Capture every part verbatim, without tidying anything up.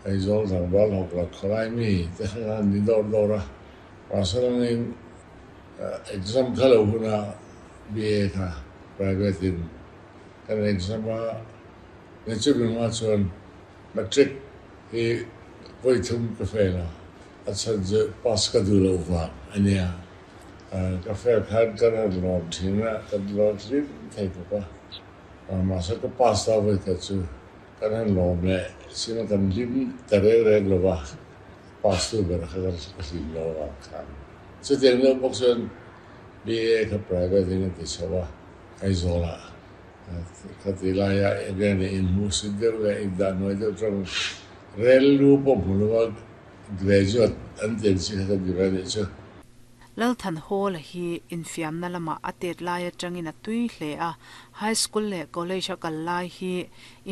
Aizawl tlangval hawk khawlai mi te kha ni dawr dawr a mahse langin exam kha lo huna B A kha private in kan exam a ni chu mi hma chuan matric hi vawi thum ka fail a a chhan chu pass ka duh loh vang ania ka fail khan kan han lawm thin a kan lawm hlim thei bawk a mahse ka pass ta vawi khat chu kan han lawm leh sina kan hlim ta reng reng lo va pass tu ber kha ka hlim lo vang khan chutiang deuh bawk chuan B A kha private in a ti chho a Aizawl ah ka ti laia enge ni inhmuhsit deuh leh indah hnuai deuh tang rel lu pawh hmu lo a graduate an ti ang chi kha kan ti ve anih chu. Lalthanhawla hi infiamna lama a tet lai atangin a tui hle a high school leh college a kal lai hi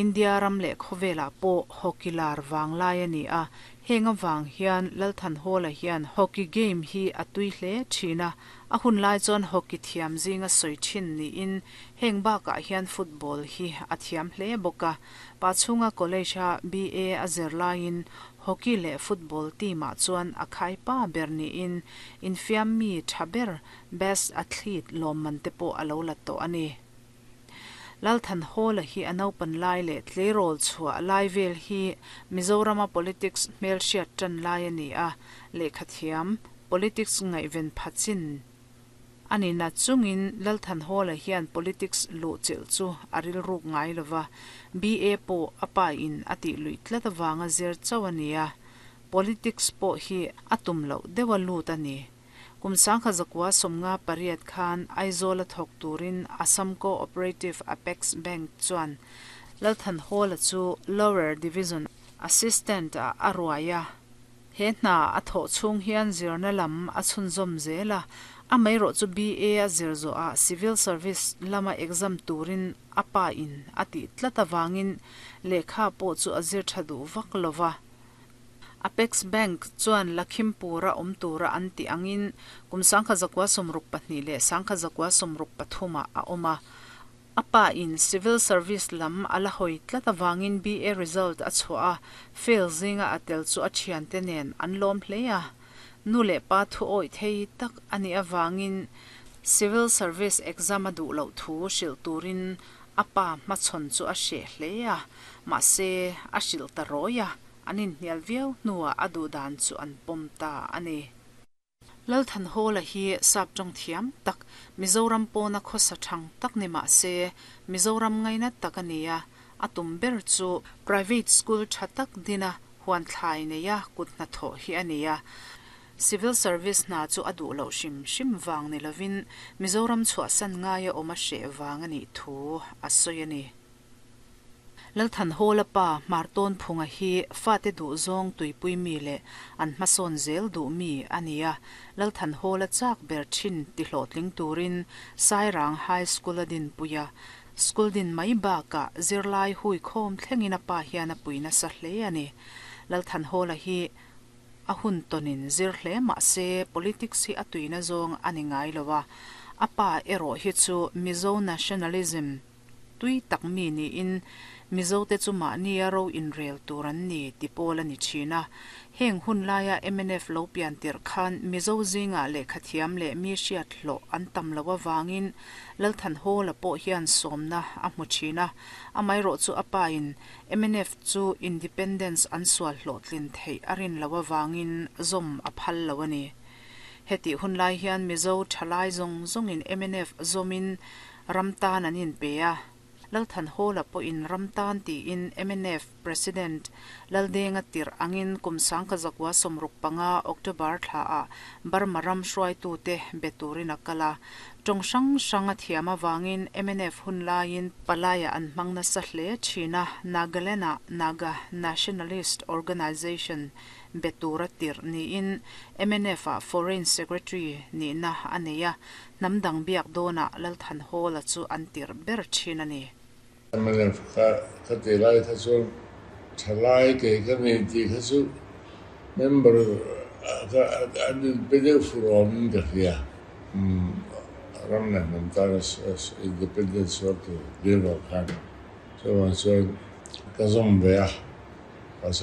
India ram leh khawvelah pawh hockey lar wang lai ani a heng awang hian Lalthanhawla hian hockey game hi a tui hle thina a hun lai chuan hockey thiam zinga sawi thin niin heng bakah hian football hi a thiam hle bawk a Pachhunga college a B A a zer laiin hockey leh football team ah chuan a khai pa ber niin infiam mi tha ber best athlete lawm te pawh a lo la tawh ani. Lalthanhawla hi a naupan lai leh tleirawl chhuah lai vel hi Mizorama politics hmel hriat tan lai ani a lehkha thiam politics ngaihven phachin ani na chungin Lalthanhawla hian politics lu chil chu a rilruk ngai lova B A pawh a pa in a tih lui tlat awanga zir chauh ani a politics pawh hi a tum loh deuh a lut ani. Kum sangkha zakwa somnga pariat khan Aizawl a thawk turin Assam Cooperative Apex Bank chuan Lalthanhawla chu Lower Division Assistant a a ruai a he hna a thawh chhung hian zirna lam a chhunzawm zel a a mai rawh chu B A a zir zawh a civil service lama exam turin a pa in a tih tlat awangin lehkha pawh chu a zir tha duh vak lova. Apex Bank chuan Lakhimpura awm tura an ti angin kum sangkha zakwa sawmruk pahnih leh sangkha zakwa sawmruk pathuma a awm a a pa in civil service lam a la hawi tlat awangin B A result a chhuah a fail zinga a tel chu a thian te nen an lawm hle a nu leh pa thu awi thei tak ani awangin civil service exam a duh loh thu hrilh turin a pa hmachhawn chu a hreh hle a mahse a hrilh ta rawi a an inhnial viau hnuah a duh dan chu an pawm ta ani. Lalthanhawla hi sap tawng thiam tak Mizoram pawna khawsa thang tak ni mahse Mizoram ngaina tak ani a a tum ber chu private school tha tak dina huan thlai neia kut hna thawh hi ani a civil service hna chu a duh loh hrim hrim wang ni lovin Mizoram chhuah san ngaia awm a hreh wang ani thu a sawi ani. Lalthanhawla pa Marton phunga hi fate duh zawng tuipui mi leh an hmasawn zel duh mi ani a Lalthanhawla chak ber thin ti hlawhtling turin Sairang High School a din puia school din mai bakah zirlai hui khawm thlengin a pa hian a puina sa hle ani. Lalthanhawla hi a hun tonin zir hle mahse politics hi a tuina zawng ani ngai lova a pa erawh hi chu Mizo nationalism tui tak mi niin Mizo te chu mahni a ro inrel tur an ni ti pawl ani thina heng hun laia M N F lo pian tir khan Mizo zinga lehkha thiam leh mi hriat hlawh an tam lo awangin Lalthanhawla pawh hian sawmna a hmu thina a mai rawh chu a pa in M N F chu independence an sual hlawh tlin theih a rin lo awangin zawm a phal lo ani. Heti hun lai hian Mizo thalai zawng zawngin M N F zawmin ramtan an in pe a Lalthanhawla pawh in ramtan tiin M N F President Laldenga tir angin kum sangkha zakwa sawmruk panga October thla a Burma ram hruaitu te beturin a kala tawng hrang hrang a thiam awangin M N F hun laiin palaya an hmangna sa hle thina Nagaland ah Naga Nationalist Organization betura tir niin M N F ah Foreign Secretary nihna a nei a hnamdang biak dawnah Lalthanhawla chu an tir ber thin ani. M N F kha kha ti lai kha chuan thalai ke ka nei tih kha chu member kha an inpe deuh furawmin ka hria ram leh hnam tan independence sual tur dil lo khan chuan chuan ka zawm ve a.